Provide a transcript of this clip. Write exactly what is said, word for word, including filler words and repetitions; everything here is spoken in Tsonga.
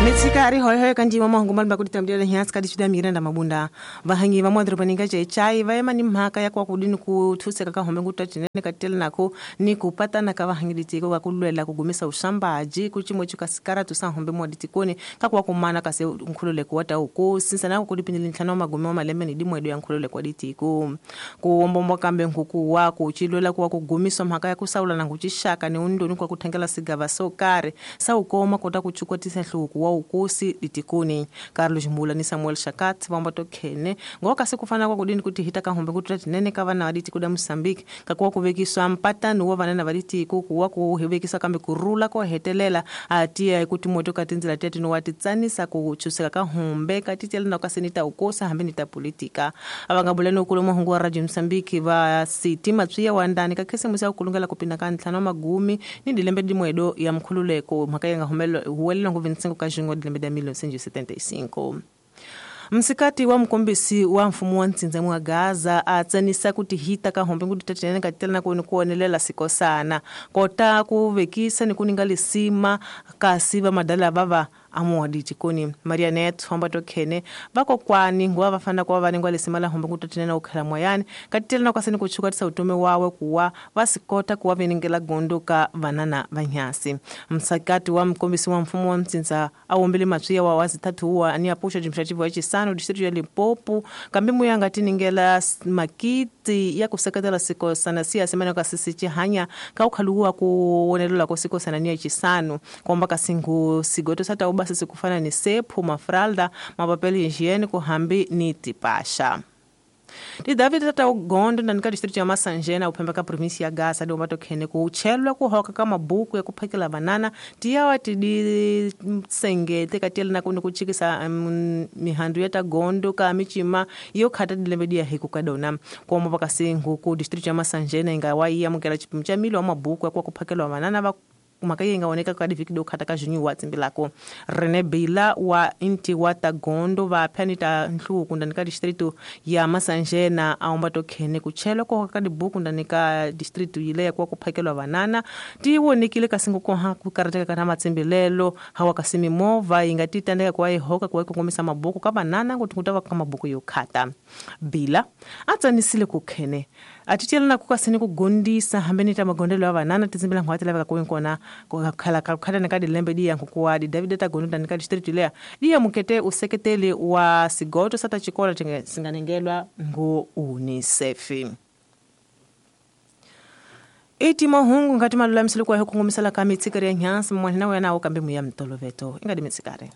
Mitsikari hoy hoy kanji mama hungu malba kuti tamdira nyasi kadi chuda miranda mabunda vahangi va mwadro paninga chai va yema ni mhaka ya kwa kudini kuthuseka ka hombe ngutatinene katela nako ni kupatana ka vahangi ditiko ka kulwela kugumisa ushambaji kuchimo chukasikara tusa hombe mwaditikoni ka kwa kumana kase nkhululeko wa tauko sinsa nako kudipindile ntlhanu wa magume wa malembe ni dimwedo ya nkhululeko wa ditiko kuwombombo kambe nkuku wa kuchilwela kwa kugumiswa mhaka ya kusaula na kuchishaka ni undoni kwa kuthengela sigava sokare saukoma kota kuchukwa tisa hluku wa ukosi ditikoni Carlos Mula ni Samuel Shakat vamba tokhene ngoka sikufana kwa kudini kuti hita kahombe kuti tinene ka vana vaditi kuda Mozambique kakuwa kuvekiswa mpatano wa vana vaditi kuwa kuhevekisa kambe kurula ko hetelela atia kuti moto katinzila tete no watitsanisa kuchuseka kahombe katitela na kasenita ukosa hambe ni ta politika avangabulano kuloma hungu wa Radio Mozambique va siti matswiya wa ndani ka khisimusi ya kulungela kupinda ka ntlhanu wa magumi ni dilembe dimwedo ya mkhululeko mhaka ya ngahumelo huwelela ngo vinte e cinco ka junho dilembe da mil novecentos e setenta e cinco. Msikati wa mkombisi wa mfumo wa ntsindza wa Gaza atsanisa kuti hita ka hombe kuti tatenene katela na kuoni kuonelela sikosana kota kuvekisa ni kuninga lisima kasi va madala vava amuwadi tikoni Marianet homba tokhene vakokwani nguva vafana kwa vanengwa lisima la hombe kuti tatenene ukhela moyani katela na kwaseni kuchuka tisa utume wawe kuwa vasikota kuwa venengela gondo ka vanana vanyasi. Msakati wa mkombisi wa mfumo wa ntsindza awombele matswiya wa wazi tatu wa ani apusha jimshativu wa chisano distrito ya Limpopo kambi muyanga tiningela makiti ya kuseketela sikosana siya semana ka sisi chihanya ka ukhaluwa kuonelela ko sikosana ni chisano komba kasingu sigoto sata uba sisi kufana ni sephu mafralda mapapeli higiene kuhambi ni tipasha. Di David tata ugondo na nika distrito ya Masanjena uphemba ka provinsi ya Gaza do matokhene kuchelwa kuhoka ka mabuku ya kuphakela banana tiyawa tidi sengete katela na kuno kuchikisa um, mihandu ya tagondo ka michima yo khata dilembe dia hiku kadona komo pakasingu ku distrito ya Masanjena ingawa iya mukela chipimo cha milo wa mabuku ya kuphakela banana va mhaka yi nga oneka ka divhiki do khata ka junyu wa tsimbilako Rene Bila wa inti wa tagondo va phanita nhluku ndani ka distrito ya Masanjena aomba tokhene kuchelwa ko ka dibuku ndani ka distrito yile ya kwa kuphakelwa vanana ti wonekile kasingo ko ha ku karateka kana matsimbilelo hawa kasimi mova yi nga ti tandeka kwa ihoka kwa kongomisa mabuku ka vanana kuti kutava ka mabuku yo khata Bila atsanisile ku khene atitela na kukasini kugondisa hambeni ta magondelo ya vanana titsimbila ngwatela va ka kona khala khala na ka dilembe di yangu kwa di David ta gonda nika district lea di ya mukete useketeli wa sigoto sata chikola tinge singanengelwa ngo UNICEF. Iti mahungu ngati malula msilu kwa hukungumisala ka mitsikari ya nyansi mwanina wena ukambe muya mtoloveto ingadi mitsikari.